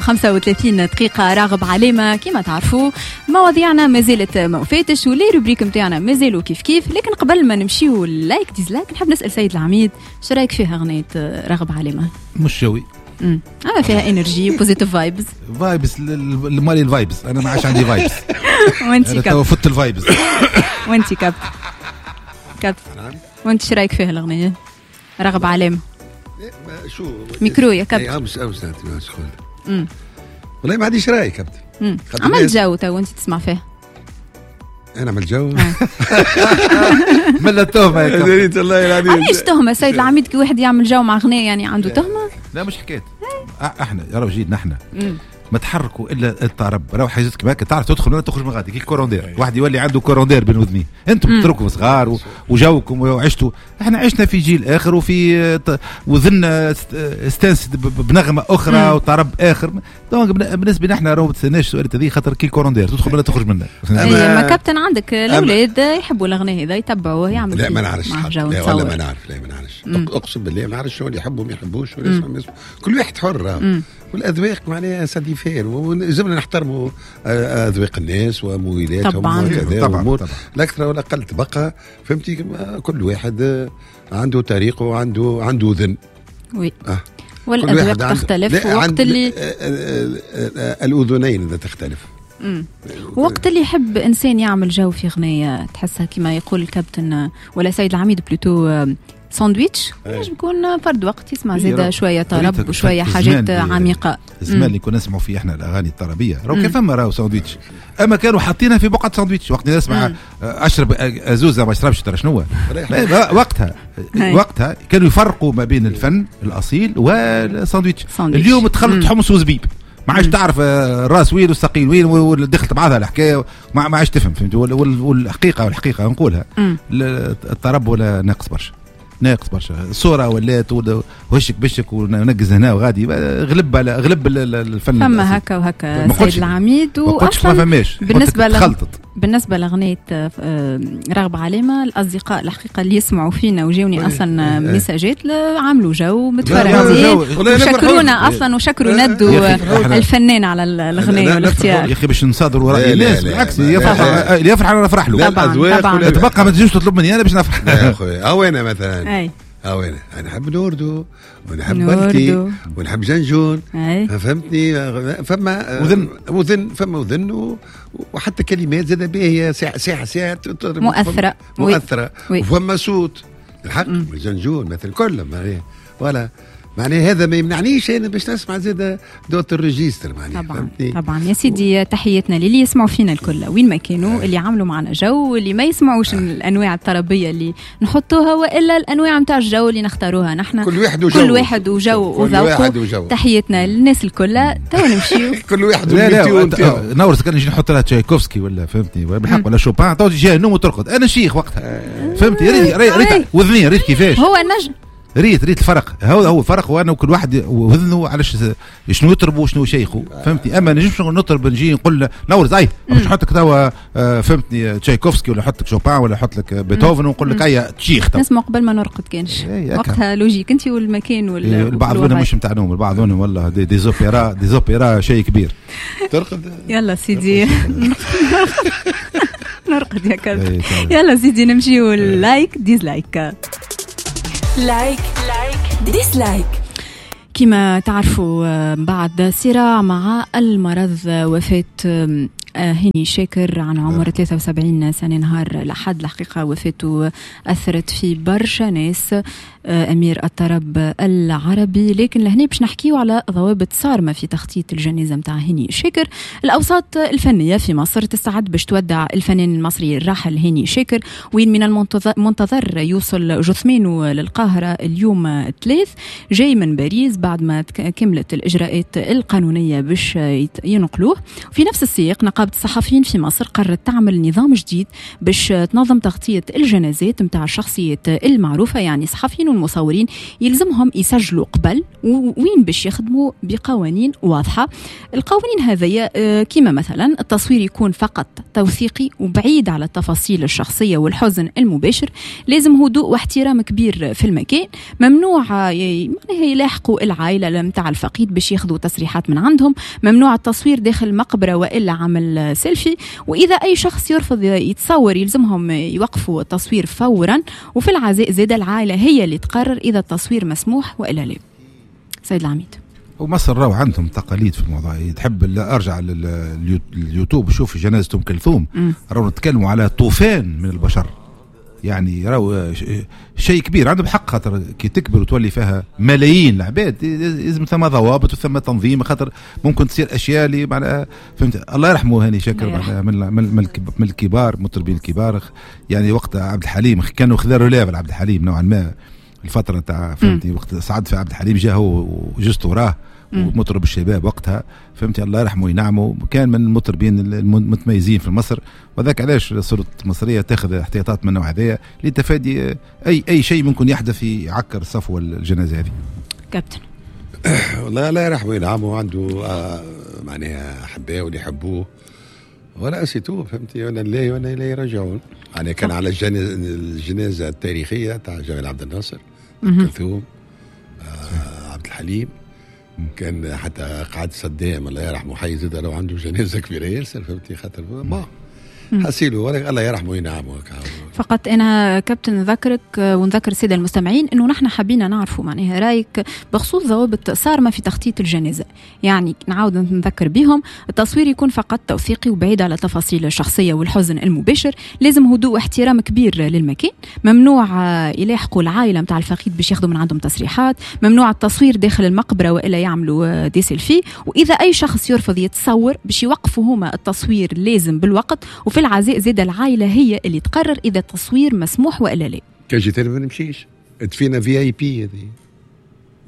35 دقيقة. راغب علامة كما تعرفوا مواضيعنا ما زالت ما وفاتش و les rubriques نتاعنا مازالوا كيف كيف، لكن قبل ما نمشيو like dislike نحب نسأل سيد العميد شو رايك فيها أغنية راغب علامة؟ مش جوي. اما فيها énergie positive vibes. vibes مالي ال vibes، انا ما عادش عندي vibes. وانت كاب فت ال vibes. وانت كاب كاب وانت شو رايك فيها الاغنية راغب علامة؟ شو ميكرو يا كابتن. امس والله ما عنديش راي كابتن. عملت جو تو وانت تسمع فيها. انا عملت جو. ملا تهمه يا كابتن. والله العظيم علاش تهمه سيد العميد كي واحد يعمل جو مع اغنية يعني عنده تهمه؟ لا مش حكاية احنا يا رب جيد نحن ما تحركوا الا الطرب، راهو حاجات كيما هكا تعرف تدخل ولا تخرج من غادي كي courant d'air، واحد يولي عنده courant d'air بين وذنيه. انتم تتركوا صغار وجوكم وعشتوا، احنا عشنا في جيل اخر وفي وذنا استانس بنغمة اخرى وطرب اخر. donc بالنسبة لنا احنا راهو ما تستناش السؤال هذه خاطر كي courant d'air تدخل ولا تخرج منه. ما كابتن عندك الاولاد يحبوا الاغنية هذا يتبعوه يعملوا. لا ما نعرفش، لا والله ما نعرف، لا ما نعرفش، اقسم بالله ما نعرفش شنو اللي يحبوا ما يحبوش ولا يسمعوا، كل واحد حر والاذواق معناها ça diffère، ولازمنا نحترموا اذواق الناس وميولاتهم وكذا وامور لا اكثر ولا اقل تبقى فهمتي. كل واحد عنده طريقه وعنده عنده اذن. oui والاذواق تختلف وقت اللي الاذنين تختلف. وقت اللي يحب انسان يعمل جو في غنية تحسها كما يقول الكابتن ولا سيد العميد plutôt ساندويتش، ينجم يكون فرد وقت يسمع زيادة شوية طرب وشوية حاجات عميقة. الزمان اللي كنا نسمعوا فيه احنا الأغاني الطربية راهو كان فما راهو ساندويتش، أما كانوا حاطينها في بقعة ساندويتش. وقت نسمع أشرب أزوزة ما أشربش ترى شنو وقتها كانوا يفرقوا ما بين الفن الأصيل والساندويتش. اليوم تخلط حمص وزبيب، ما عادش تعرف الراس وين والساقين وين ودخلت بعضها الحكاية، ما عادش تفهم فهمت. والحقيقة نقولها الطرب ولا ناقص برشا، ناقص برشا. الصورة ولات وهشك بشك ونقز هنا وغادي، غلب على غلب الفن. فما هكا وهكا سيد العميد. واصلا بالنسبة لأغنية راغب علامة الأصدقاء الحقيقة اللي يسمعوا فينا وجاوني أصلا ميساجات عملوا جو متفرعين وشكرونا أصلا وشكروا ندو الفنان على الأغنية والاختيار. يا أخي باش نصادروا رأي الناس، بالعكس اللي يفرح أنا نفرح له. طبعا تبقى ما تجيش تطلب مني أنا باش نفرح. يا أخوي أو أنا مثلا أو أنا نحب نوردو ونحب بلتي ونحب جنجون، فهمتني. فما وذن، فما وذن وحتى كلمات زاد باهية ساعة ساعة مؤثرة مؤثرة، وفما صوت الحق جنجون مثل كل معناها ولا معناها هذا ما يمنعنيش انا باش نسمع زاد d'autres registres معناها. طبعا طبعا يا سيدي، تحياتنا للي يسمعوا فينا الكل وين ما كانوا، اللي عملوا معنا جو، اللي ما يسمعوش الانواع الطربيه اللي نحطوها والا الانواع نتاع الجو اللي نختاروها نحن. كل واحد وجو، كل واحد وجو وذوقه. تحياتنا للناس الكل. تو نمشيو كل واحد لا نورس كان نجي نحط لها تشايكوفسكي ولا فهمتني بالحق ولا شوبان تو تجي النوم وترقد. انا شيخ وقتها فهمتني. ريت وذني ريت كيفاش هو النجم، ريت الفرق. هو الفرق، وانا كل واحد وذنه علاش شنو يطرب وشنو شيخه فهمتني. اما نجمش نطرب نجي نقول نورز اي باش نحط لك توا فهمتني تشايكوفسكي ولا نحط لك شوبان ولا نحط لك بيتهوفن ونقول لك اي تشيخ. نسمع قبل ما نرقد كانش وقتها logique انت والمكان وال البعض منهم مش نتاع نوم، البعض منهم والله des opéras، des opéras شيء كبير ترقد. يلا سيدي نرقد يا كلب. يلا سيدي نمشيو like dislike. like like dislike. كما تعرفوا بعد صراع مع المرض وفاة هاني شاكر عن عمر 73 سنة نهار الأحد. الحقيقة وفاته أثرت في برشا ناس، أمير الطرب العربي. لكن لهنا باش نحكيو على ضوابط صارمة في تخطيط الجنازة متاع هاني شاكر. الأوساط الفنية في مصر تستعد باش تودع الفنان المصري الراحل هاني شاكر، وين من المنتظر يوصل جثمانه للقاهرة اليوم الثلاث جاي من باريس بعد ما كملت الإجراءات القانونية باش ينقلوه. في نفس السياق نقابة الصحفيين في مصر قررت تعمل نظام جديد باش تنظم تغطية الجنازات متاع الشخصيات المعروفة، يعني صحفيين والمصورين يلزمهم يسجلوا قبل وين باش يخدموا بقوانين واضحة. القوانين هذه كما مثلا التصوير يكون فقط توثيقي وبعيد على التفاصيل الشخصية والحزن المباشر، لازم هدوء واحترام كبير في المكان، ممنوع يلاحقوا العائلة متاع الفقيد باش ياخذوا تصريحات من عندهم، ممنوع التصوير داخل المقبرة وإلا عمل سيلفي، وإذا أي شخص يرفض يتصور يلزمهم يوقفوا التصوير فورا. وفي العزاء زاد العائلة هي اللي تقرر إذا التصوير مسموح وإلا لا. سيد العميد، ومصر راهو عندهم تقاليد في الموضوع. تحب ارجع لليوتيوب شوف جنازة ام كلثوم، راهو نتكلموا على طوفان من البشر، يعني راهو شيء كبير. عندهم حق، خاطر كي تكبر وتولي فيها ملايين العباد لازم ثم ضوابط وثم تنظيم، خاطر ممكن تصير اشياء اللي معناها فهمت. الله يرحمه هاني شاكر، معناها من الكبار، المطربين الكبار، يعني وقت عبد الحليم كانوا خذا relève عبد الحليم نوعا ما الفترة تاع فهمتني، وقت صعد في عبد الحليم جا هو وجست وراه ومطرب الشباب وقتها فهمتي، الله يرحمه وينعمه، كان من المطربين المتميزين في مصر. وذاك علاش السلطات المصرية تاخذ احتياطات من النوع هذايا لتفادي اي شيء ممكن يحدث يعكر صفو الجنازة هذه. كابتن والله الله يرحمه وينعمه، عنده معناها احباء واللي يحبوه ولا c'est tout فهمتي، وانا لله وانا اليه راجعون. يعني كان على الجنازة التاريخية تاع جمال عبد الناصر، كلثوم، عبد الحليم، كان حتى قعد صدام الله يرحمه حي زاد لو عنده جنازه كبيرة ياسر فهمتي، خاطر ما حسيلو الله يرحمه وينعمه. فقط انا كابتن نذكرك ونذكر السادة المستمعين انه نحن حبينا نعرفوا معناها رايك بخصوص ضوابط صارمة في تخطيط الجنازة، يعني نعاود نذكر بهم التصوير يكون فقط توثيقي وبعيد على التفاصيل الشخصية والحزن المباشر، لازم هدوء واحترام كبير للمكان، ممنوع يلاحقوا العائلة نتاع الفقيد باش ياخذوا من عندهم تصريحات، ممنوع التصوير داخل المقبرة والا يعملوا des selfies، واذا اي شخص يرفض يتصور باش يوقفوا هما التصوير لازم بالوقت. وفي العزاء زاد العائلة هي اللي تقرر اذا التصوير مسموح والا لا. كان جيت ما نمشيش تفينا VIP هذه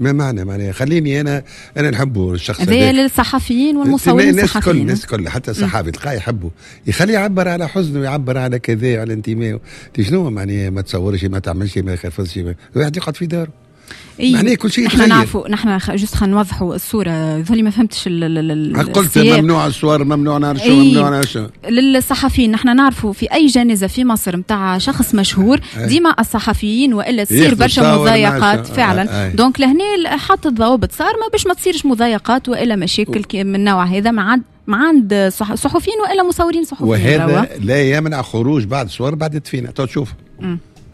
ما معنى معناها خليني انا نحبه الشخص هذا للصحفيين والمصورين الصحفيين، الناس الكل حتى الصحافي تلقاه يحبه، يخليه يعبر على حزنه ويعبر على كذا على انتمائه. شنو معناها ما تصورش ما تعملش ما يخفضش، الواحد يقعد في داره. إيه معناه كل شيء نحن نعرفوا، نحن juste خلينا نوضحوا الصورة، ذولي ما فهمتش قلت ممنوع الصور، ممنوع نعرف شو، ممنوع نعرف شو. للصحفيين نحن نعرفوا في اي جنازه في مصر نتاع شخص مشهور ديما الصحفيين والا تصير برشا مضايقات فعلا. donc لهنا حط الضوابط صارمة باش ما تصيرش مضايقات والا مشاكل من النوع هذا مع عند صحفيين والا مصورين صحفيين. وهذا لا يمنع خروج بعض الصور بعد الدفينه تشوف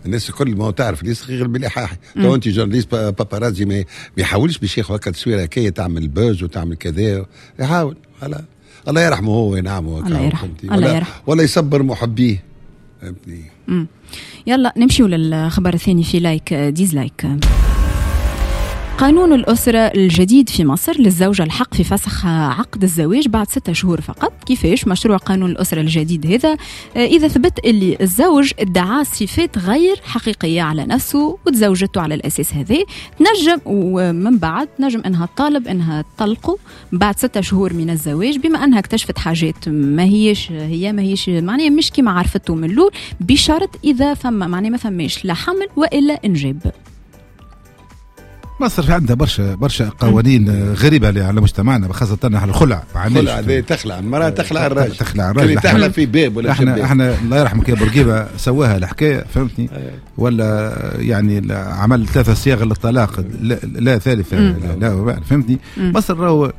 الناس الكل ما تعرف ليس غير بالايحاء. تو انت journaliste paparazzi ما يحاولش باش ياخذ هكا تصويره هكايا تعمل buzz وتعمل كذا، يحاول. الله يرحمه هو وينعمه، الله يرحمه، الله يرحمه ولا يصبر محبيه فهمتني. يلا نمشيو للخبر الثاني في like dislike. قانون الأسرة الجديد في مصر للزوجة الحق في فسخ عقد الزواج بعد 6 شهور فقط. كيفاش مشروع قانون الأسرة الجديد هذا؟ إذا ثبت اللي الزوج ادعى صفات غير حقيقية على نفسه وتزوجته على الأساس هذا، تنجم ومن بعد تنجم أنها تطالب أنها تطلقه بعد 6 شهور من الزواج، بما أنها اكتشفت حاجات ما هيش هي ما هيش معناها مش كما عرفته من الأول، بشرط إذا فما معناها ما فماش لا حمل وإلا إنجاب. مصر عندها برشا قوانين غريبة على مجتمعنا، خاصة على الخلع. الخلع هذه تخلع المرأة، تخلع الراجل، تخلع الراجل، تخلع في باب ولا احنا الله يرحمك يا بورقيبة سواها الحكاية فهمتني، ولا يعني عمل 3 صيغ للطلاق لا ثالثة لا فهمتني. مصر راهو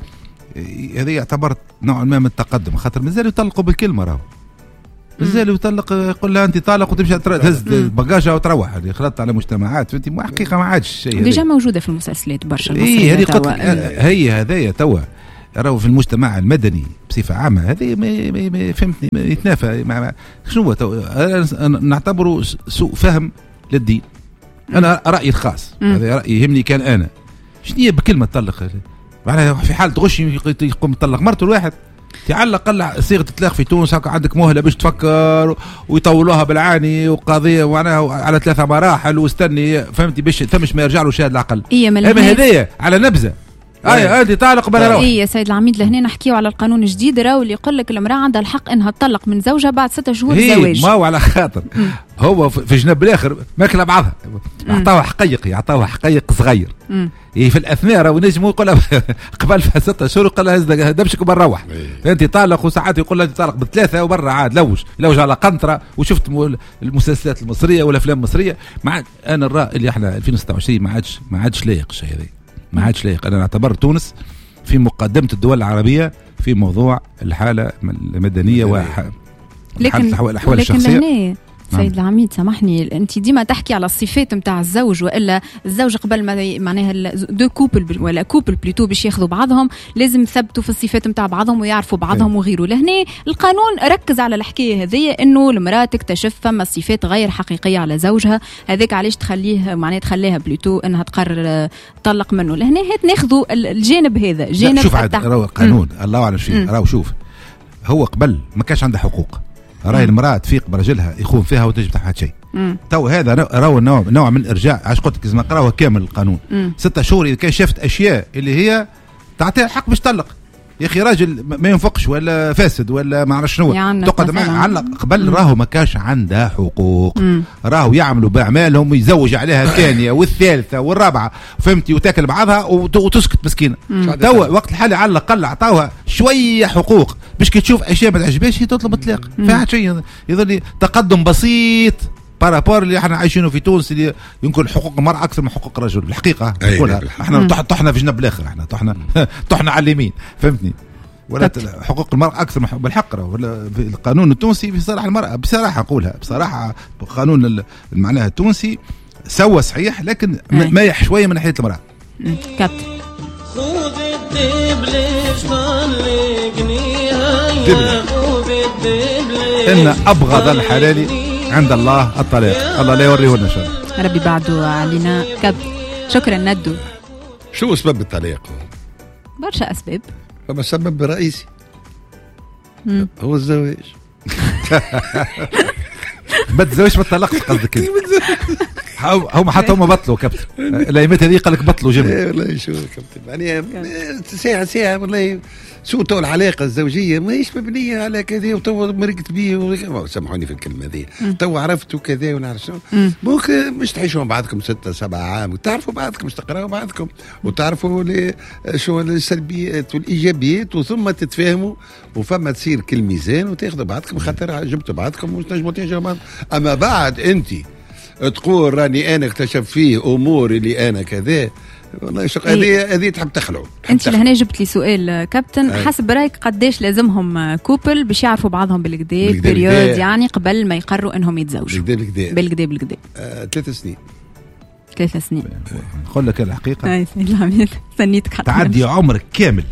هذه يعتبر نوع ما من التقدم، خاطر مازالوا يطلقوا بالكلمة، راهو مازال يطلق يقول لها انت طالق وتمشي تهز بقاجها وتروح. هذه خلطت على مجتمعات فهمتي، حقيقة ما عادش شيء déjà موجودة في المسلسلات برشا. اي هذه هي هذايا توا راهو في المجتمع المدني بصفة عامة هذه ما فهمتني يتنافى مع شنو توا نعتبره سوء فهم للدين. انا رايي الخاص هذا رايي يهمني كان انا شنو هي بكلمه تطلق، معناها في حاله غش يقوم يطلق مرته الواحد على الاقل صيغة الطلاق في تونس هكا عندك مهله باش تفكر ويطولوها بالعاني وقضية معناها على 3 مراحل واستني فهمتي باش ثمش ما يرجع له شاهد العقل. اما هذايا على نبذه اي انت طالق بلا روح. اي يا سيد العميد، لهنا نحكيو على القانون الجديد، راهو اللي يقول لك المراة عندها الحق انها تطلق من زوجها بعد 6 شهور زواج. ما هو على خاطر هو في جنب الاخر ماكله بعضها، عطاوها حقيقي، عطاوها حقيق صغير. إيه في الاثناء راهو نجم يقول قبل 6 شهور يقول لها هز دبشك وبنروح. انت طالق، وساعات يقول لها انت طالق بثلاثة وبرا عاد لوج على قنطرة. وشفت المسلسلات المصرية والافلام المصرية. مع انا الراي اللي احنا 2026 ما عادش لايق الشيء هذا، ما عادش لايق. انا نعتبر تونس في مقدمه الدول العربية في موضوع الحالة المدنية والاحوال الشخصية. سيد العميد سامحني، انت ديما تحكي على الصفات نتاع الزوج، والا الزوج قبل ما معناها deux couples ولا couple plutôt باش ياخذوا بعضهم لازم يثبتوا في الصفات نتاع بعضهم ويعرفوا بعضهم وغيره. لهنا القانون ركز على الحكاية هذه، انه المراة تكتشف فما صفات غير حقيقية على زوجها، هذاك علاش تخليه معناها تخليها plutôt انها تقرر تطلق منه. لهنا هات ناخذوا الجانب هذا، جانب شوف عاد راهو القانون الله اعلم فيه. راهو شوف، هو قبل ما كانش عنده حقوق، راهي المرأة تفيق برجلها يخون فيها وتجب تحت شيء. تو هذا راهو نوع من الارجاع. عاش قلت لك لازم نقراوه كامل القانون. 6 شهور اذا كان شافت اشياء اللي هي تعطيها الحق باش تطلق. يا اخي راجل ما ينفقش ولا فاسد ولا ما عرفش شنو تقعد معاه علق. قبل راهو ما كانش عندها حقوق. راهو يعملوا باعمالهم ويزوج عليها الثانية والثالثة والرابعة، فهمتي، وتاكل بعضها وتسكت مسكينه. توا وقت الحالي على الاقل عطاوها شوية حقوق باش كي تشوف اشياء ما تعجبهاش هي تطلب الطلاق. فيها شيء يظل تقدم بسيط par rapport اللي احنا عايشينه في تونس، اللي يمكن حقوق المرأة أكثر من حقوق الرجل الحقيقة. نقولها احنا طحنا في جنب الآخر، احنا طحنا على اليمين، فهمتني؟ ولا حقوق المرأة أكثر من بالحق. ولا في القانون التونسي في صالح المرأة بصراحة، نقولها بصراحة، القانون معناها التونسي سوى صحيح، لكن مايح شوية من ناحية المرأة. كابتن إن أبغض الحلال عند الله الطلاق، الله لا يوريه لنا شر. ربي بعده علينا. كابتن شكرا ندو. شو سبب الطلاق؟ برشا اسباب. فما سبب رئيسي هو الزواج. ما تزوجش ما تطلقش قصدك. هم حتى هم بطلوا كابتن الايامات هذه، قال لك بطلوا جملة. والله شو كابتن يعني ساعة ساعة والله شو تو العلاقة الزوجية ماهيش مبنية على كذا، وتو مرقت بيه، سامحوني في الكلمة هذه، تو عرفتوا كذا ونعرف شنو. ممكن مش تعيشوا مع بعضكم 6 7 عام وتعرفوا بعضكم، مش تقراوا بعضكم وتعرفوا شو السلبيات والايجابيات، وثم تتفاهموا وفما تصير كل ميزان وتاخذوا بعضكم خاطر جبتوا بعضكم وتنجموا تعيشوا بعض. اما بعد انت تقول راني انا اكتشف فيه امور اللي انا كذا، والله شو هذه تحب تخلعوا. انت لهنا جبت لي سؤال كابتن، حسب رايك قداش لازمهم couple باش يعرفوا بعضهم بالكدا période، يعني قبل ما يقروا انهم يتزوجوا؟ بالكدا بالكدا 3 سنين. 3 سنين. نقول لك الحقيقة اي سيد العميد استنيتك حتى تعدي عمرك كامل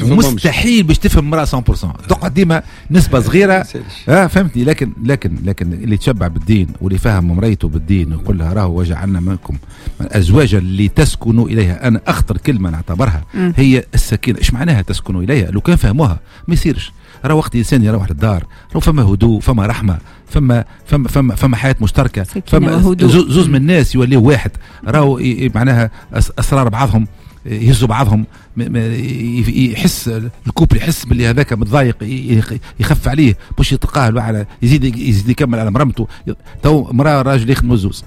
مستحيل باش تفهم مرأة 100%، تقعد ديما نسبة صغيرة. فهمتني؟ لكن لكن لكن اللي تشبع بالدين واللي فهم مريته بالدين ويقول لها راهو وجعلنا منكم أزواجا اللي تسكنوا إليها. أنا أخطر كلمة نعتبرها هي السكينة. إيش معناها تسكنوا إليها؟ لو كان فهموها ما يصيرش. راه وقت الإنسان يروح للدار راه فما هدوء، فما رحمة، فما فما فما فما حياة مشتركة، فما زوز من الناس يوليو واحد، راهو معناها أسرار بعضهم، يهزوا بعضهم، يحس ال couple يحس باللي هذاك متضايق يخف عليه باش يتقاهل على يزيد يكمل على مرمته. تو مراة راجل يخدموا زوز،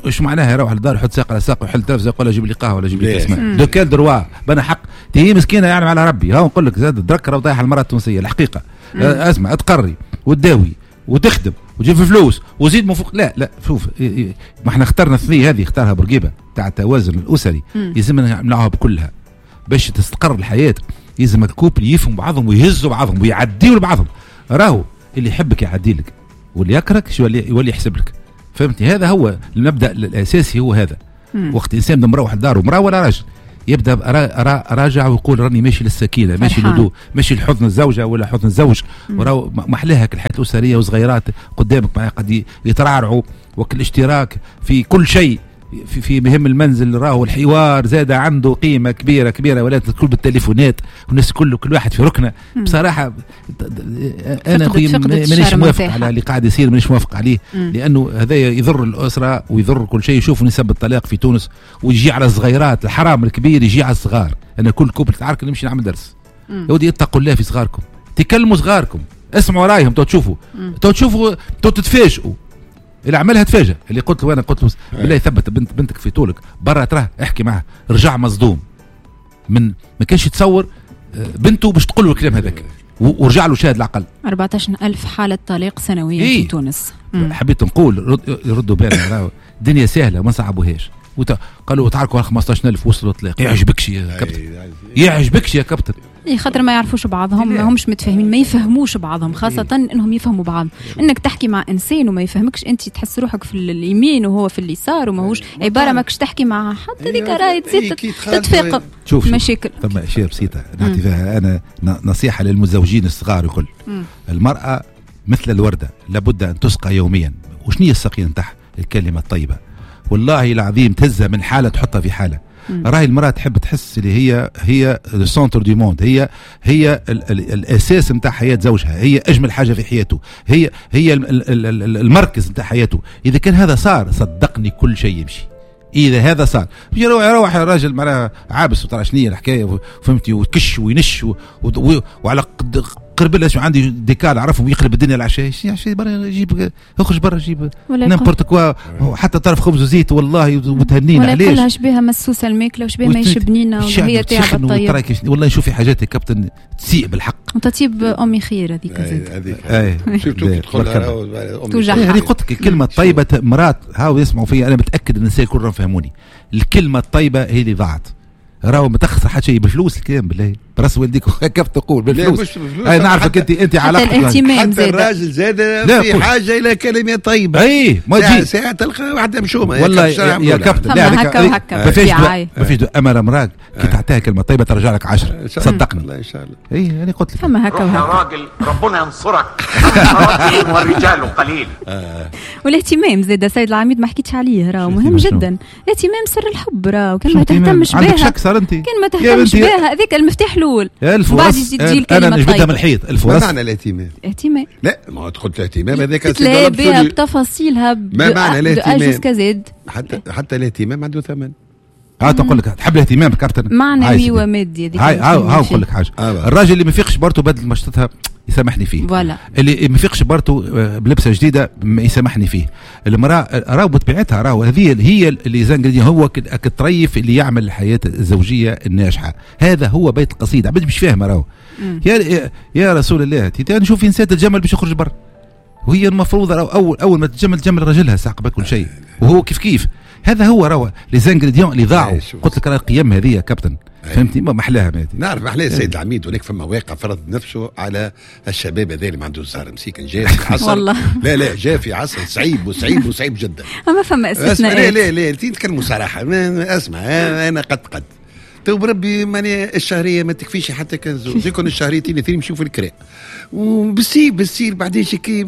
ايش معناها يروح للدار يحط ساق على ساق ويحل تلفزه يقول جيب لي قهوة ولا جيب لي كاس ماء؟ de quel droit بنا حق هي مسكينه يعني على ربي. ها نقول لك زاد درك راه طايحة المراة التونسية الحقيقة. اسمع، تقري وتداوي وتخدم وتجيب فلوس وزيد من فوق. لا لا شوف، ما احنا اخترنا الثنية هذه، اختارها بورقيبة تاع التوازن الاسري، يلزمنا نعملوها بكلها باش تستقر الحياة. يلزم ال couple يفهم بعضهم ويهزوا بعضهم ويعديوا لبعضهم. راهو اللي يحبك يعدي لك واللي يكرهك يولي يحسب لك، فهمتني؟ هذا هو المبدا الاساسي، هو هذا. وقت الانسان مروح لداره، مراة ولا راجل، يبدا راجع ويقول راني ماشي للسكينه، ماشي للهدوء، ماشي لحضن الزوجة ولا حضن الزوج. وراو محلاها الحياة الاسرية وصغيرات قدامك قد يترعرعوا، وكل اشتراك في كل شيء. في مهم المنزل راهو الحوار زاد عنده قيمة كبيرة كبيرة، ولات الكل بالتليفونات والناس كل واحد في ركنه. بصراحة انا خويا مانيش موافق على اللي قاعد يصير، مانيش موافق عليه، لانه هذا يضر الاسرة ويضر كل شيء. يشوفوا نسب الطلاق في تونس ويجي على الصغيرات، الحرام الكبير يجي على الصغار. انا كل couple تعارك نمشي نعمل درس، يا ودي اتقوا الله في صغاركم، تكلموا صغاركم، اسمعوا رايهم، تو تشوفوا تو تشوفوا تو تتفاجئوا. اللي عملها تفاجئ، اللي قلت له انا قلت له بالله ثبت بنتك في طولك برا تراه احكي معها، رجع مصدوم من ما كانش يتصور بنته باش تقول له الكلام هذاك، ورجع له شاهد العقل. 14000 حالة طلاق سنويا إيه؟ في تونس. حبيت نقول ردوا بالنا، الدنيا سهلة ما صعبوهاش. قالوا تعاركوا على 15000 وصلوا طلاق. يعجبكش يا كابتن، يعجبكش يا كابتن. إيه خاطر ما يعرفوش بعضهم، ما همش متفاهمين، ما يفهموش بعضهم، خاصة انهم يفهموا بعض. انك تحكي مع انسان وما يفهمكش، انت تحس روحك في اليمين وهو في اليسار، وماهوش عبارة ماكش تحكي مع حد، هذيك راهي تزيد تتفاقم مشاكل. ثم اشياء بسيطة نعطي فيها انا نصيحة للمتزوجين الصغار الكل. المرأة مثل الوردة لابد ان تسقى يوميا. وشنو هي السقي نتاعها؟ الكلمة الطيبة. والله العظيم تهزها من حالة تحطها في حالة. راهي المرأة تحب تحس اللي هي ال centre du monde، هي ال ال الاساس نتاع حياة زوجها، هي اجمل حاجة في حياته، هي المركز نتاع حياته. اذا كان هذا صار صدقني كل شيء يمشي. اذا هذا صار يروح الراجل معناها عابس وترى شنو الحكاية، فهمتي، وكش وينش وعلى قرب له عندي ديكال عرفهم يقلب الدنيا العشاء، عشاء برا جيب، اخرج برا جيب n'importe quoi، حتى طرف خبز وزيت والله وتهنينا. علاش؟ ولا يقولها شبيها مسوسه الماكلة وشبيها ما يشبنينا وهي تعب الطيب. والله نشوف في حاجات يا كابتن تسيء بالحق. وتطيب امي خير هذيك زاد. اي surtout كي تدخل هذه قلت لك الكلمة الطيبة مرات هاو يسمعوا فيا، انا متاكد ان النساء الكل فهموني. الكلمة الطيبة هي اللي ضاعت، راهو ما تخسر حتى شيء بالفلوس. الكلام بالله براس والديك كيف تقول بالفلوس؟ اي نعرفك انت علاقتك الاهتمام زاد، حتى الراجل زاد في حاجة الى كلمة طيبة. اي ما تجي ساعة تلقى واحدة مشومه والله يا كابتن. لا هكا ما فيش ما فيش اما مراك كي تعطيها كلمة طيبة ترجع لك 10، صدقني. الله ان شاء الله. اي انا قلت لك فما هكا وهكا. يا راجل ربنا ينصرك، رجل والرجال قليل. والاهتمام زاد سيد العميد ما حكيتش عليه، راه مهم جدا. الاهتمام سر الحب، راه كان ما تهتمش بها، كان ما تهتمش بها هذاك المفتاح الاول. بعد تجي الكلمة انا نجبدها من الحيط. الفرص ما معنى الاهتمام؟ الاهتمام لا ما تدخل الاهتمام هذاك تلاقي بها بتفاصيلها. ما معنى الاهتمام؟ حتى الاهتمام عنده ثمن. ها تقول لك تحب الاهتمام كابتن معنوي ومادي. هذيك هاي نقول لك حاجة. الراجل اللي ما يفيقش برته بدل مشطتها يسامحني فيه، voilà. اللي ما يفيقش برته بلبسه جديدة يسامحني فيه. المراة راهو بطبيعتها راهو هذه هي اللي les ingrédients، هو الطريف اللي يعمل الحياة الزوجية الناجحة. هذا هو بيت القصيد. عبد مش فاهمه راهو. يا رسول الله نشوف انسان تتجمل باش يخرج برا، وهي المفروض راهو اول ما تتجمل تجمل رجلها ساعة قبل كل شيء، وهو كيف كيف. هذا هو راهو les ingrédients اللي ضاعوا. قلت لك راه القيم هذه يا كابتن، فهمتني؟ ما محلاها نعرف محلاها السيد العميد. ولكن فما واقع فرض نفسه على الشباب هذا اللي ما عنده زهر مسكين، جاء في عصر والله لا لا جاء في عصر صعيب وصعيب وصعيب جدا. ما فما استثناءات. لا لا لا نتكلموا صراحة. اسمع انا قد تو بربي ماني الشهرية ما تكفيش حتى كان زوج يكون الشهريتين الاثنين يمشيو في الكراء وبالسيف بالسير. بعدين كي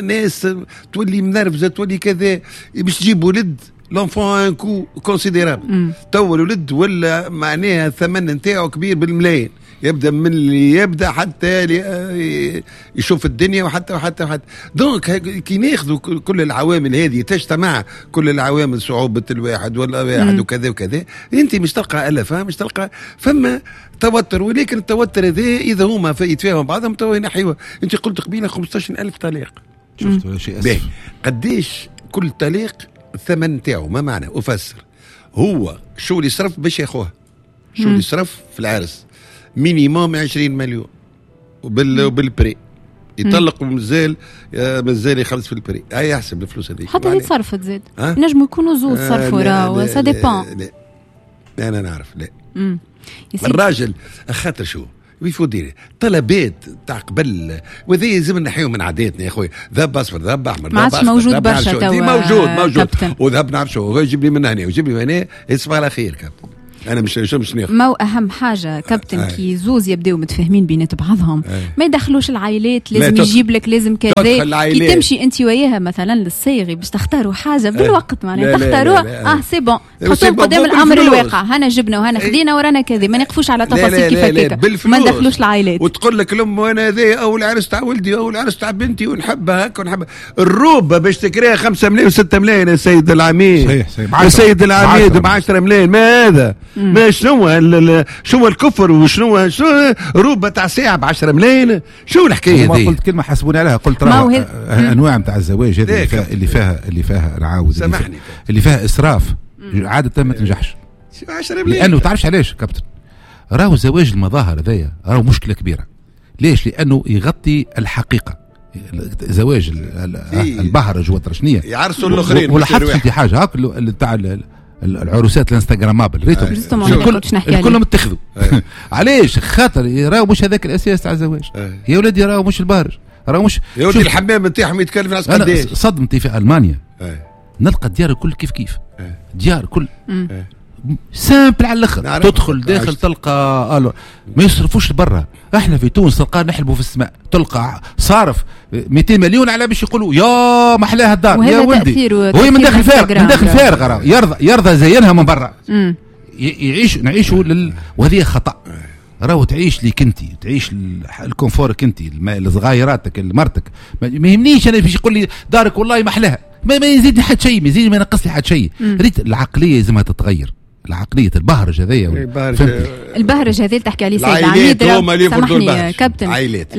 ناس تولي منرفزه تولي كذا باش تجيب ولد l'enfant un coût considérable. تو الولد ولا معناها الثمن نتاعو كبير بالملايين، يبدا من اللي يبدا حتى يشوف الدنيا وحتى وحتى وحتى. donc كي ناخذوا كل العوامل هذه تجتمع كل العوامل، صعوبة الواحد ولا واحد وكذا وكذا، انت مش تلقى الفه، مش تلقى فما توتر. ولكن التوتر هذا اذا هما يتفاهموا بعضهم تو ينحيوه. انت قلت قبيلة 15000 طلاق، شفت شيء اسف. قديش كل طلاق الثمن تاعو؟ ما معنى افسر هو شو اللي صرف باش ياخوها، شو اللي صرف في العرس minimum 20 مليون وبال prix يطلق ومازال مازال يخلص في ال prix. هاي يحسب الفلوس هذيك حتى هي تصرفت زاد. نجموا يكونوا زوز صرفوا راهو ça dépend. لا انا نعرف لا الراجل خاطر شو il faut dire طلبات تاع قبل، وهذا لازم نحيو من عاداتنا يا خويا. ذهب اصفر، ذهب احمر، ما عادش موجود برشا توا. موجود موجود وذهب نعرف شو يجيب لي من هنا ويجيب لي من هنا. يصبح على خير كابتن. انا مش ناخذ. ما هو اهم حاجة كابتن كي زوز يبداو متفاهمين بينات بعضهم ما يدخلوش العائلات، لازم يجيب لك، لازم كذا. كي تمشي انت وياها مثلا للصيغي باش تختاروا حاجة بالوقت معناها تختاروها c'est bon، تحطوهم قدام الامر الواقع، هنا جبنا وهنا خذينا ورانا كذا، ما نقفوش على تفاصيل كيف هكاك، ما ندخلوش العائلات. وتقول لك الام وانا هذا اول عرس تاع ولدي اول عرس تاع بنتي ونحبها هكا ونحبها. الروبه باش تكريها 5 ملايين و6 ملايين يا سيد العميد. صحيح يا سيد العميد ب 10 ملايين. ما هذا؟ ما شنو الكفر وشنو روبه تاع ساعة ب 10 ملايين؟ شو الحكاية هذه؟ قلت كلمة حاسبوني عليها، قلت راه انواع نتاع الزواج هذه اللي فيها العاوز اللي فيها اسراف عادة ما تنجحش. 10 ملايين لانه تعرفش علاش كابتن؟ راهو زواج المظاهر هذايا راهو مشكلة كبيرة. ليش؟ لانه يغطي الحقيقة. زواج البهرج والترشنيه يعرسوا الاخرين. ولاحظت انت حاجة هاك تاع العروسات ال instagrammables ريتهم كلهم اتخذوا. علاش؟ خاطر راهو مش هذاك الاساس تاع الزواج. يا ولادي راهو مش البهرج، راهو مش يا ولدي الحمام نتاعهم يتكلف ناس قداش. صدمتي في المانيا نلقى الديار الكل كيف كيف، ديار كل simple على الاخر، تدخل داخل تلقى ما يصرفوش برا. احنا في تونس تلقى نحلبوا في السماء، تلقى صارف 200 مليون على باش يقولوا يا محلاها الدار يا ولدي، وهي من داخل فارغ، من داخل فارغ يرضى زينها من برا. يعيش نعيشوا وهذه خطا. راهو تعيش ليك انت، تعيش ال confort ك انت، لصغيراتك لمرتك. ما يهمنيش انا باش يقول لي دارك والله محلاها، ما يزيدني حد شيء، ما يزيدني ما ينقص لي حد شيء. ريت العقلية لازمها تتغير، العقلية البهرج هذايا. البهرج هذا اللي تحكي عليه سيد العميد، سامحني كابتن،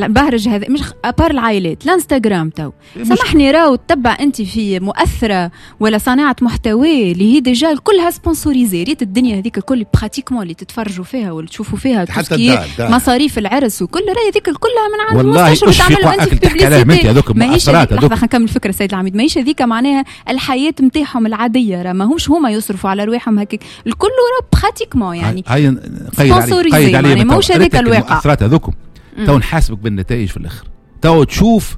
البهرج هذا مش à part العائلات، الانستغرام تو سامحني راهو تتبع انت في مؤثرة ولا صانعه محتوى اللي هي déjà كلها sponsorisée. ريت الدنيا هذيك الكل pratiquement اللي تتفرجوا فيها واللي تشوفوا فيها مصاريف العرس وكل راهي هذيك كلها من عند المستشفى وتعملوا انت في publicité. ماهيش لحظة خلينا نكمل الفكرة سيد العميد، ماهيش هذيك معناها الحياة نتاعهم العادية، راه ماهمش هما يصرفوا على رواحهم هكاك الكل، راه pratiquement يعني sponsorisé، يعني ماهوش هذاك الواقع. المؤثرات هذوكم تو نحاسبك بالنتائج في الاخر، تو تشوف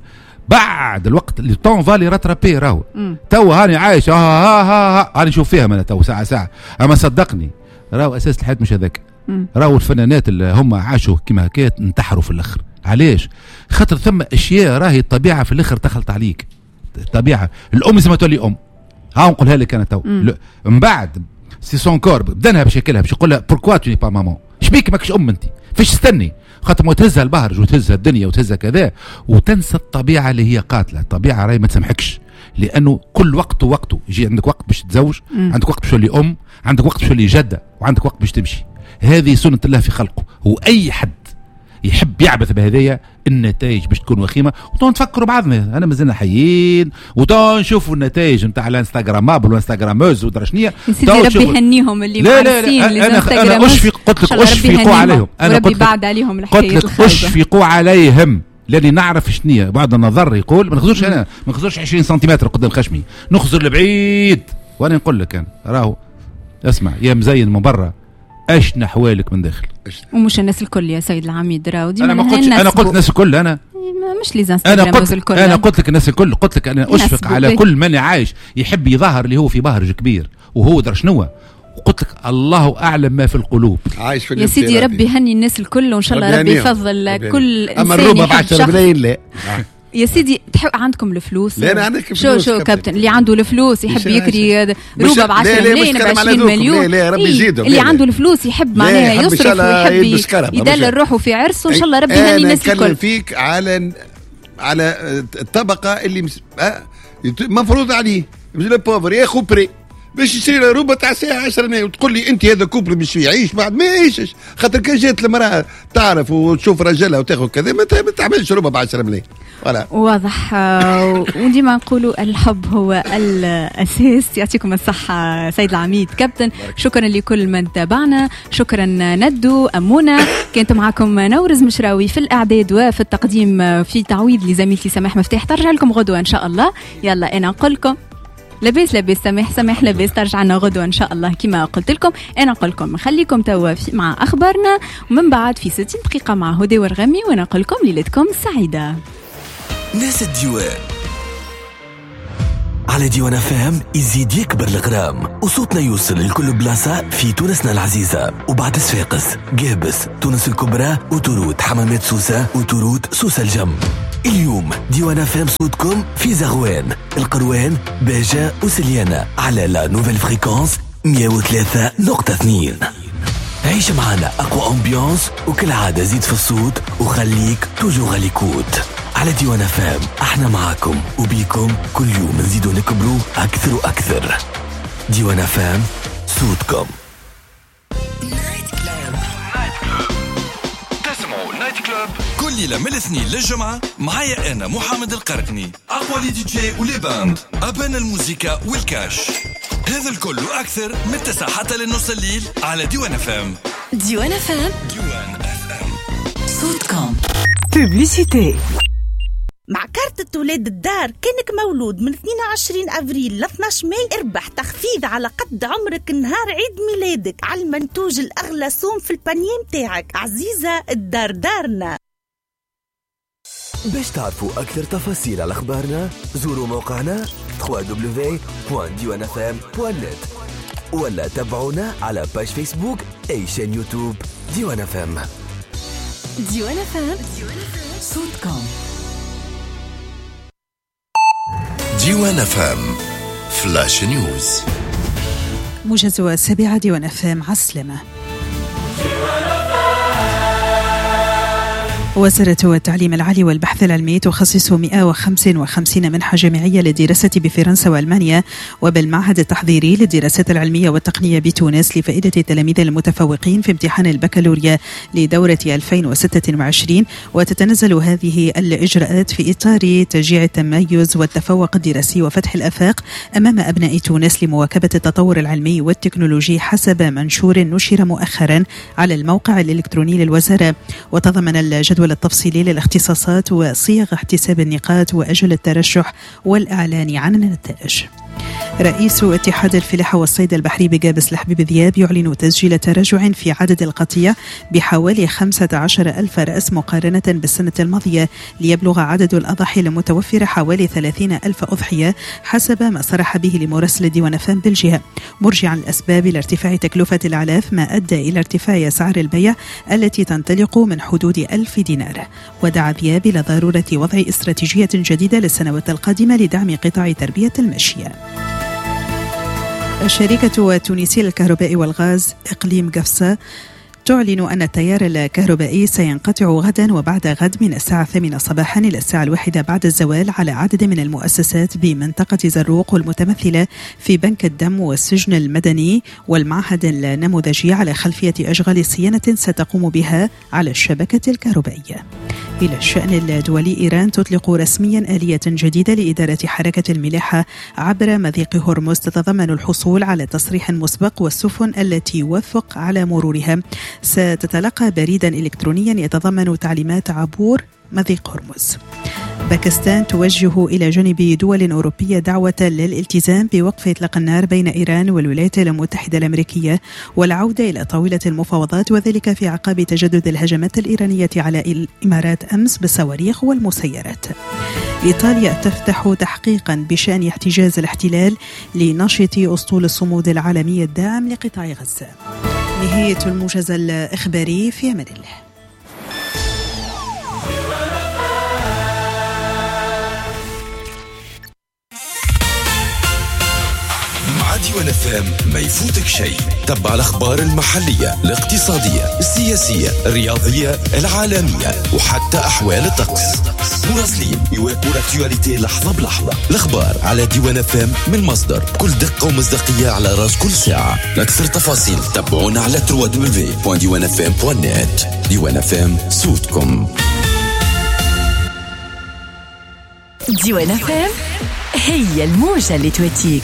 بعد الوقت le temps va les rattraper. راهو تو هاني عايش ها ها ها هاني نشوف فيها انا تو ساعة ساعة، اما صدقني راهو اساس الحياة مش هذاك. راهو الفنانات اللي هم عاشوا كيما هكا انتحروا في الاخر. علاش؟ خاطر ثم اشياء راهي الطبيعة في الاخر تخلط عليك. الطبيعة الام لازم تولي ام، ها نقولها لك انا تو. من بعد c'est son corps بدنها باش ياكلها، باش يقول لها pourquoi tu n'es pas maman، شبيك ماكش ام انت، فاش تستني؟ خاطر ما تهزها البهرج وتهزها الدنيا وتهزها كذا وتنسى الطبيعة اللي هي قاتله. الطبيعة راهي ما تسامحكش، لانه كل وقت ووقته يجي. عندك وقت باش تتزوج، عندك وقت باش تولي ام، عندك وقت باش تولي جده، وعندك وقت باش تمشي. هذه سنة الله في خلقه. واي حد يحب يعبث بهذايا النتائج باش تكون وخيمة. وتو نتفكروا بعضنا، انا مازلنا حيين، وتو نشوفوا النتائج نتاع ال instagrammable وال instagrammeuses ودرا شنيا. سيدي ربي يهنيهم اللي معرسين. انا اشفق، قلت لك اشفقوا عليهم، انا قلت بعد عليهم الحكاية قلت لك اشفقوا عليهم، لاني نعرف شنيا. بعض النظر يقول ما نخزرش، انا ما نخزرش 20 سنتيمتر قدام خشمي، نخزر لبعيد. وانا نقول لك انا راهو اسمع يا مزين من برا، اش نحوالك من داخل. ومش الناس الكل يا سيد العميد راهو ديما. انا ما قلتش، انا قلت الناس الكل، انا مش les instagrammeuses الكل، انا قلت لك الناس الكل. قلت لك انا اشفق على كل من عايش يحب يظهر اللي هو في بهرج كبير وهو در شنو. وقلت لك الله اعلم ما في القلوب. عايش في يا سيدي ربي يهني الناس الكل، وان شاء الله ربي يفضل كل انسان. اما الروبه ب 10 ملايين لا يا سيدي. تحب عندكم الفلوس؟ لا انا عندك فلوس. شو كابتن اللي عنده الفلوس يحب يكري روبه ب 10 ملايين ب 20 مليون. لا ربي يزيدهم. اللي عنده الفلوس يحب معناها يصرف ويحب يدلل روحه في عرسه، وان شاء الله ربي يهني الناس الكل. انا نتكلم فيك على الطبقة اللي مفروض عليه le pauvre ياخذ prêt باش يشري له روبه تاع ساعة 10 ملايين، وتقول لي انت هذا couple باش يعيش بعد ما يعيشش. خاطر كان جات المراة تعرف وتشوف رجلها وتاخذ كذا ما تعملش روبه ب 10 ملايين. واضح. وديما نقولوا الحب هو الاساس. يعطيكم الصحة سيد العميد كابتن، شكرا لكل من تابعنا، شكرا ندو امونه. كانت معكم نورز مشراوي في الاعداد وفي التقديم، في تعويض لزميلتي سماح مفتاح. ترجع لكم غدوه ان شاء الله. يلا انا نقول لكم لاباس لاباس سماح سماح لاباس، ترجع لنا غدوه ان شاء الله كما قلت لكم. انا نقول لكم نخليكم توا مع اخبارنا، ومن بعد في 60 دقيقة مع هدى ورغمي، وانا نقول لكم ليلتكم سعيدة. ناس الديوان على ديوان FM يزيد يكبر الغرام وصوتنا يوصل لكل بلاصة في تونسنا العزيزة، وبعد صفاقس، قابس، تونس الكبرى، autoroute حمامات سوسة، autoroute سوسة الجم. اليوم ديوان FM صوتكم في زغوان، القروان، باجة وسليانة على la nouvelle fréquence 103.2. عيش معنا أقوى ambiance، وكالعادة زيد في الصوت وخليك toujours à l'écoute على ديوان FM. احنا معاكم وبيكم كل يوم نزيدوا نكبروا أكثر وأكثر. ديوان FM صوتكم. Night Club. تسمعوا Night Club كل ليلة من الاثنين للجمعة معايا أنا محمد القرقني، أقوى les DJ و les bandes، أبان الموسيقى والكاش، هذا الكل وأكثر من 9 حتى للنص الليل على ديوان FM. ديوان FM، ديوان FM صوتكم. Publicité. مع كارت ولاد الدار كانك مولود من 22 أفريل ل 12 ماي اربح تخفيض على قد عمرك نهار عيد ميلادك على المنتوج الأغلى سوم في ال panier متاعك. عزيزة الدار دارنا. باش تعرفوا أكثر تفاصيل على أخبارنا زوروا موقعنا www.diwanfm.net ولا تابعونا على page Facebook et chaîne YouTube ديوان FM. ديوان FM صوتكم. ديوان FM Flash News. موجز السابعة، ديوان FM، عالسلامة. وزارة التعليم العالي والبحث العلمي تخصص 155 منحة جامعية للدراسة بفرنسا وألمانيا وبالمعهد التحضيري للدراسات العلمية والتقنية بتونس لفائدة التلاميذ المتفوقين في امتحان البكالوريا لدورة 2026. وتتنزل هذه الإجراءات في إطار تشجيع التميز والتفوق الدراسي وفتح الآفاق أمام أبناء تونس لمواكبة التطور العلمي والتكنولوجي حسب منشور نشر مؤخرا على الموقع الإلكتروني للوزارة. وتضمن الجدول التفصيلي للاختصاصات وصيغ احتساب النقاط وأجل الترشح والإعلان عن النتائج. رئيس اتحاد الفلاحة والصيد البحري بقابس الحبيب ذياب يعلن تسجيل تراجع في عدد القطيع بحوالي 15 ألف رأس مقارنة بالسنة الماضية، ليبلغ عدد الأضاحي المتوفرة حوالي 30 ألف أضحية حسب ما صرح به لمراسل ديوان FM بالجهة، مرجعا الأسباب لارتفاع تكلفة الأعلاف ما أدى إلى ارتفاع أسعار البيع التي تنطلق من حدود 1000 دينار. ودعا ذياب إلى ضرورة وضع استراتيجية جديدة للسنوات القادمة لدعم قطاع تربية الماشية. الشركة التونسية للكهرباء والغاز إقليم قفصة تعلن أن التيار الكهربائي سينقطع غدا وبعد غد من الساعة 8 صباحا إلى الساعة 1 بعد الزوال على عدد من المؤسسات بمنطقة زروق والمتمثلة في بنك الدم والسجن المدني والمعهد النموذجي على خلفية أشغال صيانة ستقوم بها على الشبكة الكهربائية. إلى الشأن الدولي، إيران تطلق رسميا آلية جديدة لإدارة حركة الملاحة عبر مضيق هرمز تتضمن الحصول على تصريح مسبق، والسفن التي يوافق على مرورها ستتلقى بريدا إلكترونيا يتضمن تعليمات عبور مضيق هرمز. باكستان توجه إلى جانب دول أوروبية دعوة للالتزام بوقف إطلاق النار بين إيران والولايات المتحدة الأمريكية والعودة إلى طاولة المفاوضات، وذلك في أعقاب تجدد الهجمات الإيرانية على الإمارات أمس بالصواريخ والمسيرات. إيطاليا تفتح تحقيقا بشأن احتجاز الاحتلال لناشط أسطول الصمود العالمي الداعم لقطاع غزة. نهاية الموجز الإخباري، في أمان الله. ديوان FM ما يفوتك شيء، تبع الأخبار المحلية، الاقتصادية، السياسية، الرياضية، العالمية، وحتى أحوال الطقس. مراسلين يواكبوا l'actualité لحظة بلحظة. الأخبار على ديوان FM من مصدر بكل دقة ومصداقية على راس كل ساعة. لأكثر تفاصيل تابعونا على www.diwanfm.net. ديوان FM صوتكم. ديوان FM هي الموجة اللي تواتيك.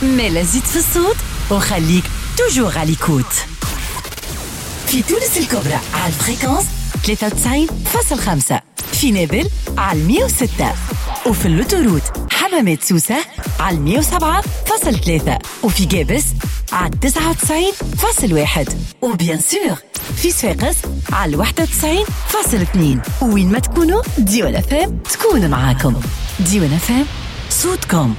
مالا زيد في الصوت وخليك toujours à l'écoute. في تونس الكبرى على ال fréquence 93.5، في نابل على 106، وفي l'autoroute حمامات سوسة على 107.3، وفي قابس على 99.1، و bien sûr في صفاقس على 91.2. وين ما تكونوا ديوان FM تكون معاكم. ديوان FM صوتكم.